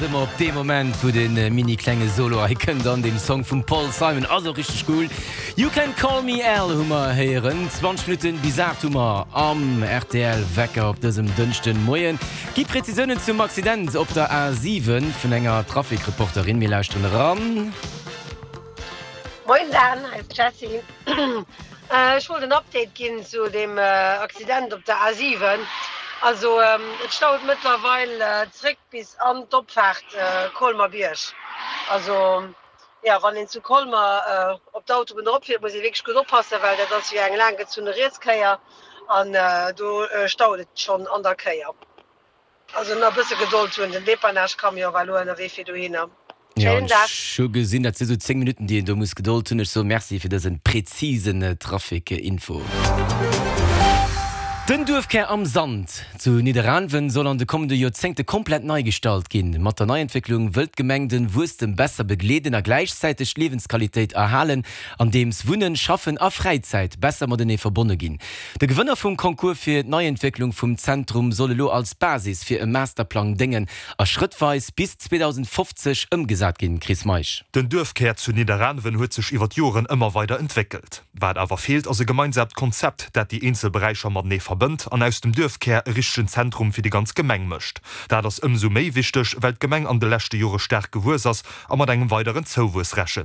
Ëmmer op dee Moment wou de mini klenge Solo hei kënnt an deem Song vum Paul Simon ass och richteg cool. You Can Call Me Al hu mer héieren. 20 Minutten bis 8 hu mer am rtl Wecker op dësem Dënschden Moien. Gi Prezisiounen zum Accident op der A7 vun enger Trafic-Reporterin. Mir lauschteren eran. Moien Dan, hei ass d'Jessie. Ech wollt en Update ginn zu dem Accident op der A7. Also et staut mëttlerweil zréck bis an d'Opfaart Colmer-Bierg. Also jo, wann een zu Colmer op d'Autobunn eropfiert, muss ee wierklech gutt oppassen, well dat ass jo eng laanggezunne Rietskéier an do staut et schonn an der Kéier. Also nach bësse Gedold hunn, den Dépannage-Camion war elo ënnerwee fir dohinner. Jo, an ech hu gesinn, dat si sou 10 Minutten, déi een do muss Gedold hunn. Ech soe Merci fir dëse präzisen Trafic-Info. Den Duerfkär Am Sand zu Nidderaanwen soll an de kommende Joerzéngte komplett nei gestalt ginn. Mat der Neientwécklung wëllt d'Gemeng den Wuesstem besser begleeden a gläichzäiteg d'Liewensqualitéit erhalen, andeems Wunnen, Schaffen a Fräizäit besser matenee verbonne ginn. De Gewënner vum Concours fir d'Neientwécklung vum Zentrum soll elo als Basis fir e Masterplang déngen a schrëttweis bis 2050 ëmgesat ginn. Chris Meisch. Den Duerfkär zu Nidderaanwen huet sech iwwer d'Joren ëmmer weider entwéckelt. Wat awer feelt, ass e gemeinsaamt Konzept, dat déi eenzel Beräicher matenee verbënnt an aus dem Duerfkär e richtegen Zentrum fir déi ganz Gemeng mécht. Dat ass ëmsou méi wichteg, well d'Gemeng an de leschte Jore staark gewuess ass a mat engem weideren Zouwuess rechent.